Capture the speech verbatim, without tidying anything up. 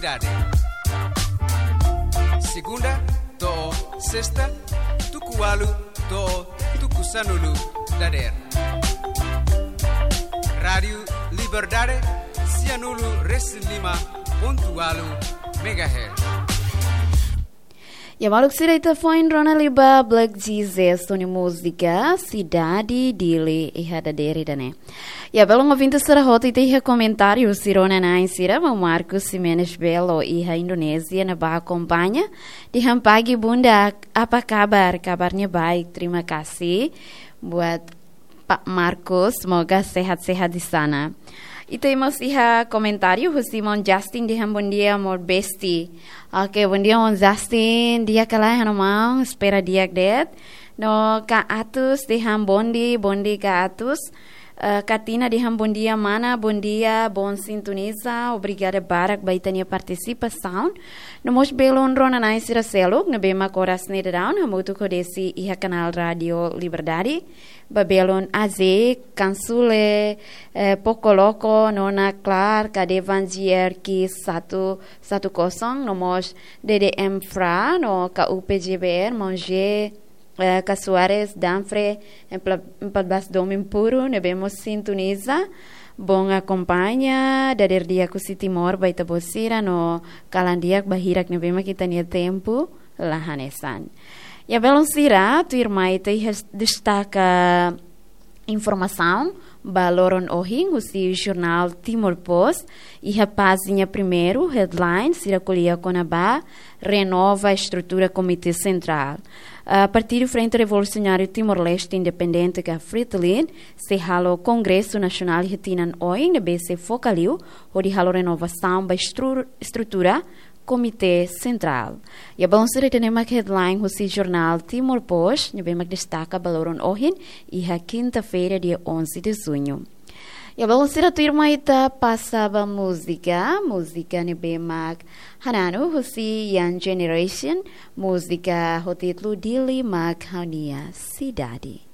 Liberdade. Segunda to'o sesta, tuku ualu to'o tuku sanulu dadeer. Rádiu Liberdade, sianulu resin lima pontu ualu megahertz. Ya, maluk sira, ita foin rona liu ba Black Jesus nia múzika Sidade Dili iha dadeer ida-ne'e. Ya, belun ouvinte sira hotu, ita iha komentáriu husi rona-na'in sira, maun Marcos Ximenes Belo iha Indonézia ne'ebá akompaña. Dehan pagi bunda, apa kabar? Kabarnya baik, terima kasih buat Pak Marcos, semoga sehat-sehat di sana. Ita mós iha komentáriu husi maun Justin, dehan bondia maun Besti. Oke, bondia maun Justin, di'ak ka lae ha'u-nia maun, espera di'ak de'it. No Kak Atus dehan bondia, bondia Kak Atus. Eh, Katina dehan bondia mana, bondia, bom sintoniza, obrigada barak ba ita-nia partisipasaun. No mós belun rona-na'in sira seluk ne'ebé mak oras ne'e daudaun hamutuk ho Desi iha kanál Rádiu Liberdade. Ba belun Aze, Kansule, eh, Pokoloko, Nona Klar, Kadevan G R Q satu satu kosong, no mós D D M Fra, no K U P J B R, maun G, eh, Kak Suarez, Danfre, empat belas Domin Puru, ne'ebé mós sintoniza, bom akompaña, dadeer di'ak husi Timor ba ita-boot sira, no kalan di'ak ba hirak ne'ebé mak ita-nia tempu la hanesan. Ya, belun sira, tuirmai ita iha destaka informasaun ba loron ohin husi jornál Timor Post, iha pájina primeiru, headline sira ko'alia kona-ba renova estrutura Komité Sentrál. Ah, Partidu Frente Revolusionáriu Timor-Leste Independente ka Fretilin sei halo Kongresu Nasionál iha tinan oin ne'ebé sei foka liu hodi halo renovasaun ba estru-, estrutura Komité Sentrál. Ya, belun sira, ida-ne'e mak headline husi jornál Timor Post ne'ebé mak destaka ba loron ohin, iha kinta-feira, dia onze de junho. Ya, belun sira, tuirmai ita pasa ba múzika, múzika ne'ebé mak hananu husi Young Generation, múzika ho títulu Dili Mak Ha'u-nia Sidade.